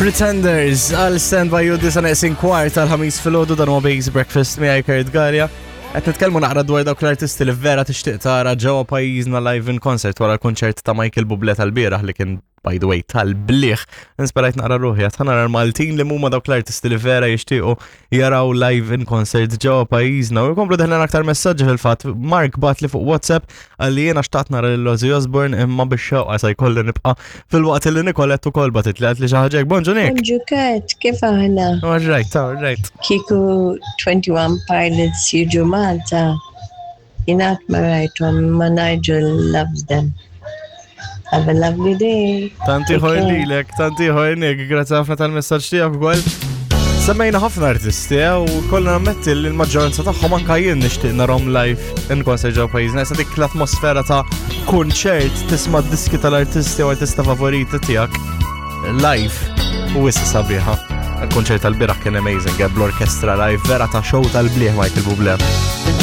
Pretenders għal Stand By You disa neqsin kwart tal-ħamis filgħodu dan huwa Base Breakfast miegħi Kurt Galea. Qed nitkellmu naqra dwar dawk l-artisti li vera tixtieq tara ġewwa pajjiżna live in concert wara l-kunċert ta' Michael Bublé tal-bieraħ li kien by the way tal-bliħ. Insperajt naqra ruħi qed nara l-Maltin li huma dawk l-artisti li vera jixtiequ jaraw live in concert ġewwa pajjiżna. U jkomplu deħlin aktar messaġġi fil-fatt. Mark bat li fuq WhatsApp għalli jiena xtaqt nara lil Ozzy Osbourne imma biex xewqa se jkolli nibqa' filwaqt li Nicolette ukoll batit li għalt li xi ħaġa hekk. Bonġu Nick. Bonġu Kurt, kif aħna? All right, all right. Kieku 21 Pilots jiġu Malta, jien qatt ma rajthom imma Nigel loves them. Have a lovely day. Tanti ħor lilek, tanti ħor Nick, grazzi ħafna tal-messaġġ tiegħek ukoll. Semmejna ħafna artisti eh, u kollha nammetti li l-maġġoranza tagħhom anka jien nixtieq narhom live in concert ġew pajjiżna. Issa dik l-atmosfera ta' kunċert tisma' diski tal-artisti u artista favoriti tiegħek live u issa sabiħa. Il-kunċert tal-bieraħ kien amazing, eh, bl-orkestra live, vera ta' show tal-bliħ Michael Bublé.